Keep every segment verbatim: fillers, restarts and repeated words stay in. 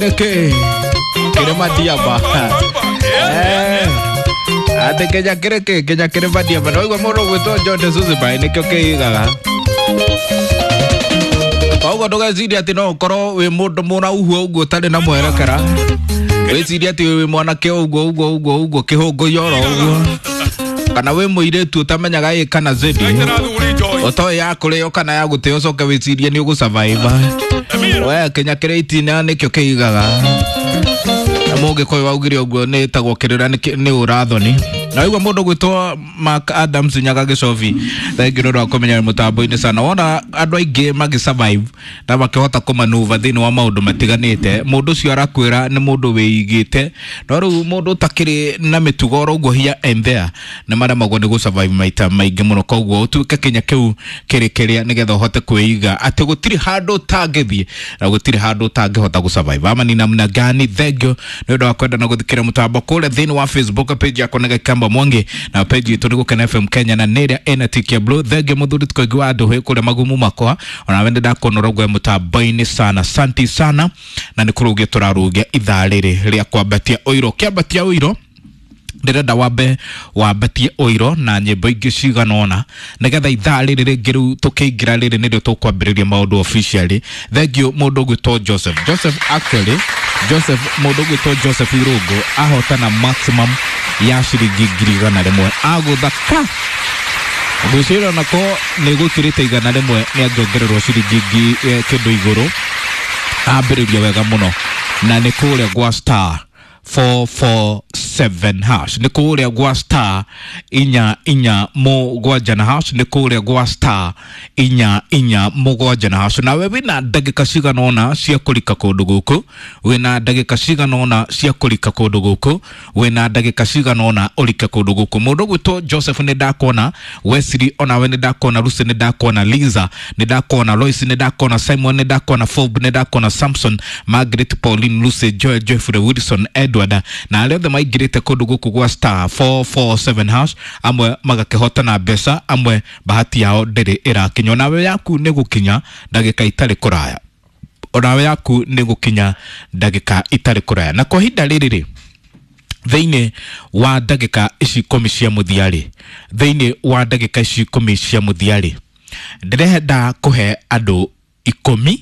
Nĩkĩ kĩrĩ madiaba Eh, atĩ Kenya kĩrĩ kĩ Kenya kĩrĩ madiaba no igua mũndũ ũgwĩtwo John de Suzibai nĩkĩo kĩigaga. Koguo ndũgecirie atĩ no ũkorwo wĩ mũndũ mũrauhu ũguo ũtarĩ na mwerekera, wĩcirie atĩ wĩ mwanake ũguo ũguo ũguo ũguo kĩhũngũi oro ũguo, kana wĩ mũirĩtu ũtamenyaga ĩ kana zedi ũtoĩ ya kũrĩo kana ya gũtĩo, ũcoke wĩcirie nĩ ũgũsurvive. We Kenya kĩrĩ itina nĩkĩo kĩigaga. Na mũgĩkũyũ waugire ũguo nĩ ĩtagwo kĩrĩra nĩ ũrathoni. Na igua mũndũ gwĩtwo Mark Adams Nyaga Gĩcobi, thengiũ nĩ ũndũ wa kũmenya mũtambo-inĩ sana. Wona andũ aingĩ magĩ survive na makĩhota kũmanuva thĩinĩ wa maũndũ matiganĩte, mũndũ ũcio arakwĩra nĩ mũndũ wĩigĩte, no rĩu mũndũ ũtakĩrĩ na mĩtugo oro ũguo here and there nĩ maremagwo nĩ gũ survive maita maingĩ mũno. Koguo ũtuĩke kinya kĩu kĩrĩ kĩrĩa nĩgetha ũhote kwĩiga atĩ gũtirĩ handũ ũtangĩthiĩ na gũtirĩ handũ ũtangĩhota gũ survive. Ama ni namna gani? Thengiũ nĩ ũndũ wa kwenda na gũthikĩra mũtambo kũrĩa thĩinĩ wa Facebook page yakwa nĩ Gĩkamba Mwangi, na page itũ nĩ Gũkena F M Kenya na nĩ ĩrĩa ĩna tick ya blue. Thengiũ mũthuri tũkoingĩ wa andũ kũrĩa magumu makwa, onawe nĩ ndakuona ũrogwe mũtambo-inĩ sana, santi sana. Na nĩ kũrũgia tũrarũgia ithaa rĩrĩ rĩa kwambatia ũiro. Kĩambatia ũiro ndĩrenda wambe wambatie ũiro na nyĩmbo ingĩ cigana ũna nĩgetha ithaa rĩrĩ rĩngĩ rĩu tũkĩingĩra rĩrĩ nĩrĩo tũkwambĩrĩria maũndũ officially. Thengiũ mũndũ ũgwĩtwo Joseph Joseph actually Joseph mũndũ ũgwĩtwo Joseph Irũngũ ahotana maximum ya ciringi ngiri igana rĩmwe, agũtha ka ngwĩciria onako nĩ gũkĩrĩte igana rĩmwe nĩ angĩongererwo ciringi ngi- kĩndũ igũrũ. Ambĩrĩria wega mũno na nĩ kũrĩa gwa star four four seven hash, nĩ kũrĩa gwa star inya inya mũgwanja na hash, nĩ kũrĩa gwa star inya inya mũgwanja na hash. Nawe wĩna ndagĩka cigana ũna cia kũrika kũndũ gũkũ, wĩna ndagĩka cigana ũna cia kũrika kũndũ gũkũ, wĩna ndagĩka cigana ũna ũrike kũndũ gũkũ. Mũndũ ũgwĩtwo Joseph nĩ ndakuona, Wesley onawe nĩ ndakuona, Lucy nĩ ndakuona, Liza nĩ ndakuona, Lois nĩ ndakuona, Simon nĩ ndakuona, Fob nĩ ndakuona, Samson, Margaret, Pauline, Lucy, Joy, Jeffrey, Wilson, Edward na arĩa othe maingĩrĩte kũndũ gũkũ gwa star four four seven hash, amwe magakĩhota na mbeca, amwe bahati yao ndĩrĩ ĩrakinya. Onawe yaku nĩ gũkinya ndagĩka itarĩ kũraya, onawe yaku nĩ gũkinya ndagĩka itarĩ kũraya. Na kwa ihinda rĩrĩ rĩ, thĩinĩ wa ndagĩka ici ikũmi cia mũthia rĩ, thĩinĩ wa ndagĩka ici ikũmi cia mũthia rĩ, ndĩrenda kũhe andũ ikũmi,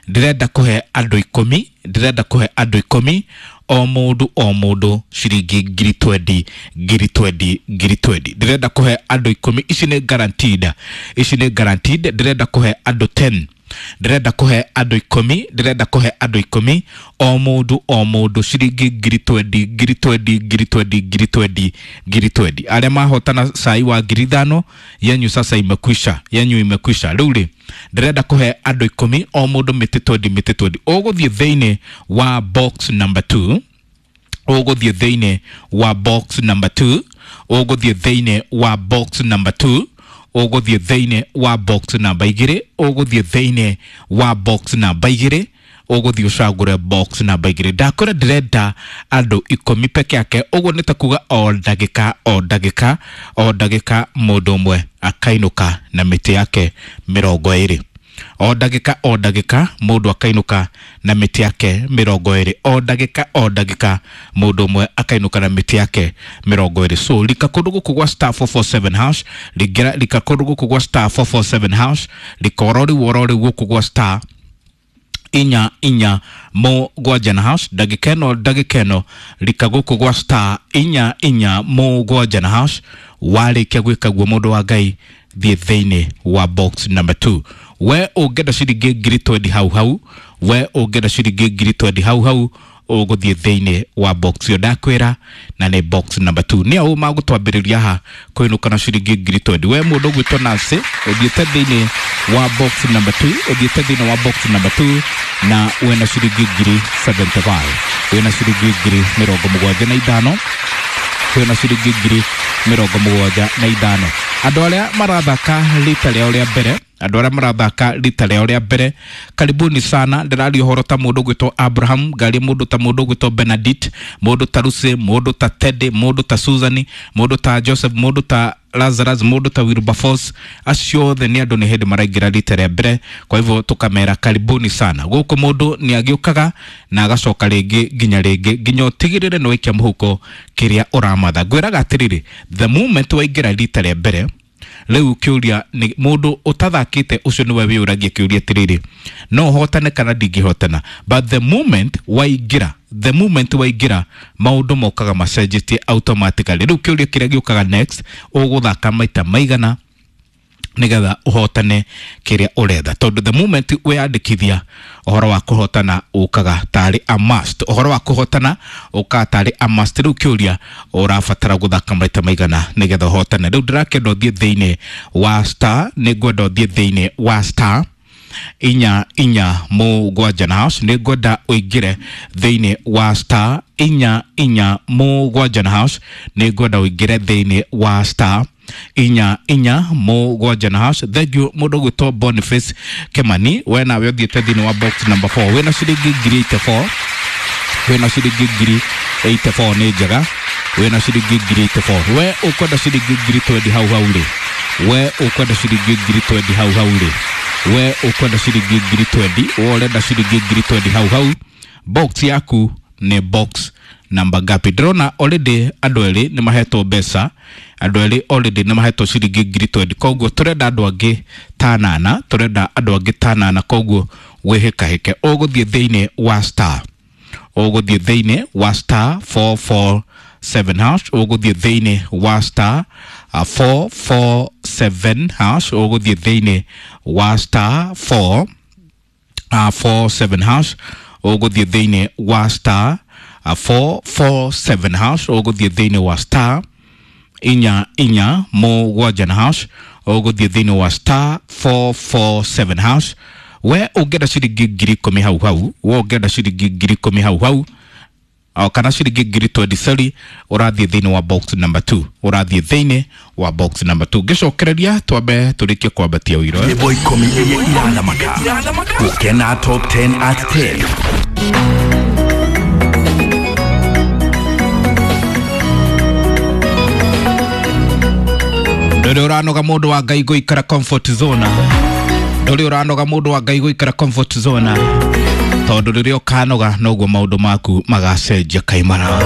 ndĩrenda kũhe andũ ikũmi, ndĩrenda kũhe andũ ikũmi, o mũndũ o mũndũ ciringi ngiri twendi, ngiri twendi, ngiri twendi. Ndĩrenda kũhe andũ ikũmi, ici nĩ guaranteed, ici nĩ guaranteed. Ndĩrenda kũhe andũ ten, ndĩrenda kũhe andũ ikũmi, ndĩrenda kũhe andũ ikũmi, o mũndũ o mũndũ ciringi ngiri twendi, ngiri twendi, ngiri twendi, ngiri twendi, ngiri twendi. Arĩa mahotana cai wa ngiri ithano, yenyu sasa imekwisha, yenyu imekwisha. Rĩu rĩ, ndĩrenda kũhe andũ ikũmi, o mũndũ mĩtĩ twendi, mĩtĩ twendi. Ũgũthiĩ thĩinĩ wa box number two, ũgũthiĩ thĩinĩ wa box number two, ũgũthiĩ thĩinĩ wa box number two, ũgũthiĩ thĩinĩ wa box namba igĩrĩ, ũgũthiĩ thĩinĩ wa box namba igĩrĩ, ũgũthiĩ ũcagũre box namba igĩrĩ. Ndakwĩra ndĩrenda andũ ikũmi peke yake, ũguo nĩ ta kuga o ndagĩka o ndagĩka o ndagĩka mũndũ ũmwe akainũka na mĩtĩ yake mĩrongo ĩrĩ. O ndagĩka o ndagĩka mũndũ akainũka na mĩtĩ yake mĩrongo ĩrĩ. O ndagĩka o ndagĩka mũndũ ũmwe akainũka na mĩtĩ yake mĩrongo ĩrĩ. So rika kũndũ gũkũ gwa star four four seven hash, ringĩra rika kũndũ gũkũ gwa star four four seven hash, rika oro rĩu oro rĩu gũkũ gwa star inya inya mũgwanja na hash, ndagĩka ĩno ndagĩka ĩno rika gũkũ gwa star inya inya mũgwanja na hash. Warĩkia gwĩka guo mũndũ wa Ngai, thiĩ thĩinĩ wa box number two. We ũngĩenda ciringi ngiri twendi hau hau, we ũngĩenda ciringi ngiri twendi hau hau, ũgũthiĩ thĩinĩ wa box ĩyo ndakwĩra, na nĩ box number two. Nĩ au magũtwambĩrĩria haha kũinũka na ciringi ngiri twendi. We mũndũ ũgwĩtwo Nancy, ũthiĩte thĩinĩ wa box number two, ũthiĩte thĩinĩ wa box number two na wĩna ciringi ngiri seventy five, wĩna ciringi ngiri mĩrongo mũgwanja na ithano, wĩna ciringi ngiri mĩrongo mũgwanja na ithano. Andũ arĩa marathaka rita rĩao rĩa mbere Andũ arĩa marathaka rita rĩao rĩa mbere, karibuni sana. Ndĩraria ũhoro ta mũndũ ũgwĩtwo Abraham, ngaria mũndũ ta mũndũ ũgwĩtwo Benedict, mũndũ ta Lucy, mũndũ ta Teddy, mũndũ ta Susan, mũndũ ta Joseph, mũndũ ta Lazarus, mũndũ ta Wilberforce. Acio othe nĩ andũ nĩ hĩndĩ maraingĩra rita rĩa mbere, kwa hivyo tũkamera karibuni sana. Gũkũ mũndũ nĩ agĩũkaga na agacoka rĩngĩ nginya rĩngĩ nginya ũtigĩrĩre nĩ waikia mũhuko kĩrĩa ũramatha. Ngwĩraga atĩrĩrĩ, the moment waingĩra rita rĩa mbere, rĩu kĩũria nĩ mũndũ ũtathakĩte ũcio nĩwe wĩyũragia kĩũria atĩrĩrĩ, no hotane kana ndingĩhotana? But the moment waingĩra, the moment waingĩra, maũndũ mokaga macenjetie automatically. Rĩu kĩũria kĩrĩa gĩũkaga next, ũgũthaka maita maigana nigetha ũhotane kĩrĩa ũretha? Tondũ the moment weyandĩkithia, ũhoro wa kũhotana ũkaga tarĩ a must, ũhoro wa kũhotana ũkaga tarĩ a must. Rĩu kĩũria, ũrabatara gũthaka maita maigana nĩgetha ũhotane? Rĩu ndĩrakĩenda ũthiĩ thĩinĩ wa star, nĩ ngwenda ũthiĩ thĩinĩ wa star inya inya mũgwanja na hash. Nĩ ngwenda ũingĩre thĩinĩ wa star inya inya mũgwanja na hash. Nĩ ngwenda ũingĩre thĩinĩ wa star inya inya mũgwanja na hash. Thank you, mũndũ ũgwĩtwo Boniface Kemani, we nawe ũthiĩte thĩinĩ wa box number four, wĩna ciringi ngiri eighty-four, wĩna ciringi ngiri eighty-four, nĩ njega, wĩna ciringi ngiri eighty-four. We ũkwenda ciringi ngiri twenty hau hau rĩ? We ũkwenda ciringi ngiri twenty hau hau rĩ? We ũkwenda ciringi ngiri twenty? We ũrenda ciringi ngiri twenty hau hau? Box yaku nĩ box namba ngapi? Ndĩrona already andũ erĩ nĩ mahetwo mbeca, andũ erĩ already nĩ mahetwo ciringi ngiri twenty, koguo tũrenda andũ angĩ ta nana, tũrenda andũ angĩ ta nana, koguo wĩhĩkahĩke. Ũgũthiĩ thĩinĩ wa star, ũgũthiĩ thĩinĩ wa star four four seven hash, ũgũthiĩ thĩinĩ wa star uh, four four seven hash, ũgũthiĩ thĩinĩ wa star four uh, four seven hash, ũgũthiĩ thĩinĩ wa star uh, four four seven hash, ũgũthiĩ thĩinĩ wa star inya inya mũgwanja na hash, ũgũthiĩ thĩinĩ wa star four four seven hash. We ũngĩenda ciringi ngiri ikũmi hau hau, we ũngĩenda ciringi ngiri ikũmi hau hau o kana ciringi ngiri twenty, sorry, ũrathiĩ thĩinĩ wa box number two, ũrathiĩ thĩinĩ wa box number two. Ngĩcokereria twambe tũrĩkie kwambatia ũiro. Nyĩmbo ikũmi iria irathamaka gũkena, top ten at ten. Ndũrĩ ũranoga, mũndũ wa Ngai, gũikara comfort zone? Ndũrĩ ũranoga, mũndũ wa Ngai, gũikara comfort zone? Tondũ rĩrĩa ũkanoga, noguo maũndũ maku magacenjia kaimara.